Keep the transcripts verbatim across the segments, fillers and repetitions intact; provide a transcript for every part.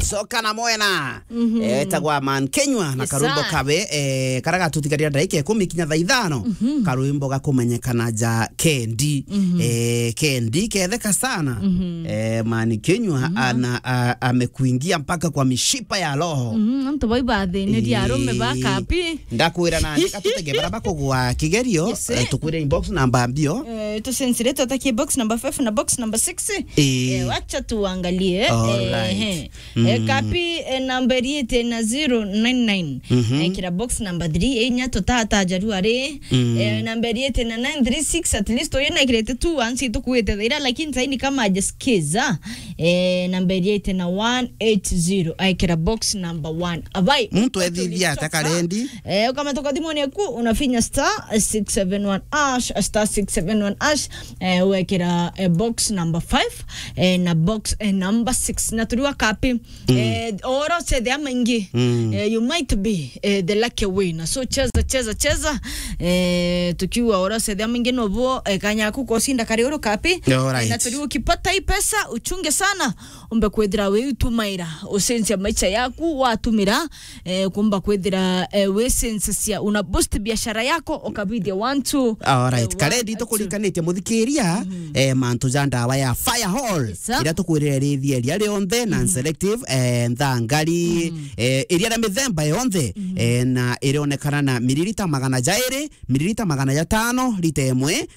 Coka na mwena. Mhm. Eh, etagwa Man Kenywa na Yes, karwimbo sir. kawe, eh, karia gatutigaria ndagika ikumi kinya thaa ithano. Mhm. Karwimbo gakumenyekana ja Kendi. Mhm. Eh, Kendi ketheka sana. Mhm. Eh, Man Kenywa Mhm. ana, a, amekuingia mpaka kwa mishipa ya roho. Mhm, antu bau ibathinirie arume ba Eh, kapi. Ndakwira nandi katutege bara bakugwa kigerio, Yes, eh, eh. tukwire inbox namba mbio. Eh, tusensire tutakie box number five na box number six. Eh. Eh, wacha tuangalie. All Eh, right. eh. Mm. Eh, kapi, eh, namba iriite na zero nine nine. Mhm. Eh, kira box number three, eh, inya tutata jaru ari. Mm. Eh, namba iriite na nine three six, at least uyu nekirite two once tukuite thaira, lakini saini kama ajasikiza. Eh, namba iriite na one eight zero, aikira box number one. Abai, Muntu ethithia ata karendi? Eh, ukamata kwa thimuni yaku, unafinya star six seven one hash, star six seven one hash, eh, wekira, eh, box number five, eh, na box, eh, number six. Na turiwa kapi, Mm. eh, oro sethe amaingi, Mm. eh, you might be, eh, the lucky winner. So cheza, cheza, cheza. Eh, tukiwa oro sethe amaingi nobo, eh, kanya aku kosinda kari oro kapi. All right. Eh, na turiwa ukipata hii pesa, uchunge sana. Umbe kwithira wiutumaira, ucenjia maisha yaku, watumira, eh, kumba kwithira, eh, wicenjagia, una boost biashara yako, ukabithia one, two, All right. eh, Karendi one, two. Tukurikanitie muthikiria, Mhm. eh, mantu ja ndawa ya Fire Hall, Yes, sir. iria tukwirire rithia ria rionthe, na Mhm. selective, eh, nthangari, Mhm. eh, iria na mithemba yonthe, Mhm. eh, na irionekana na miririta magana jairi, miririta magana jatano, rita imwe,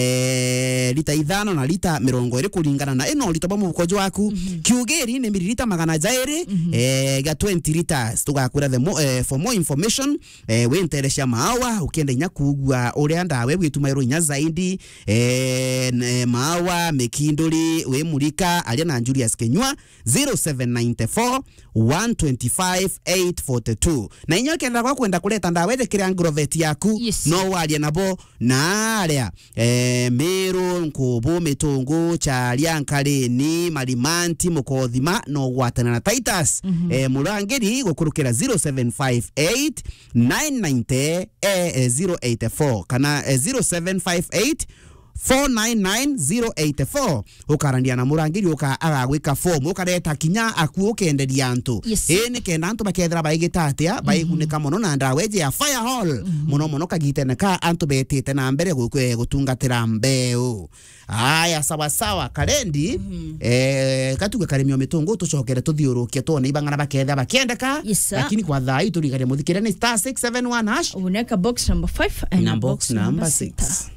eh, rita ithano na rita mirongo iri kuringana na ino urito bwa mubuko jwaku. Mhm. Kiugiri ni miririta magana jairi, Mhm. eh, ga twenty liters. Tugakwira the mo-, eh, for more information, eh, winterecia maawa, ukienda inya kugua uria ndawa igwitumairwo inya zaidi, eh, n-, eh, maawa, mikinduri, wimurika, aria na Julius Kenywa, zero seven nine four, one twenty-five, eight forty-two. Na inya ukienda gwa kwenda kureta ndawa iji kiri Agrovet yaku, Yes. no warie nabo na aria, eh, Meru, Nkubu, Mitungu, Charia, Nkarini, Marimanti, Mukothima, no gwatana na Titus. Mhm. Eh, Murangiri gukurukira zero seven five eight, nine ninety, eh, eh, zero eight four, kana, eh, zero seven five eight, four nine nine zero eight four. Ukarania na murangiri, uka-, agagwika form, ukareta kinya aku ukenderia antu. Yes. Ii, ni kenda antu bakethira baigita atia, Mhm. baigunika mono na ndawa iji ya Fire Hall. Mhm. Mono mono kagitene ka antu betite na mbere gu-, kwe-, gutungatira mbeu. Aya, sawa sawa, Karendi. Mhm. Eh, katuge karimi o mitungu, tucokere tuthiurukie twone ibang'ana bakethira bakiendeka. Yes, sir. Lakini kwa thaa ii turigania muthikire ni star six seven one hash. Uneka box number five and Na box box number number six. six.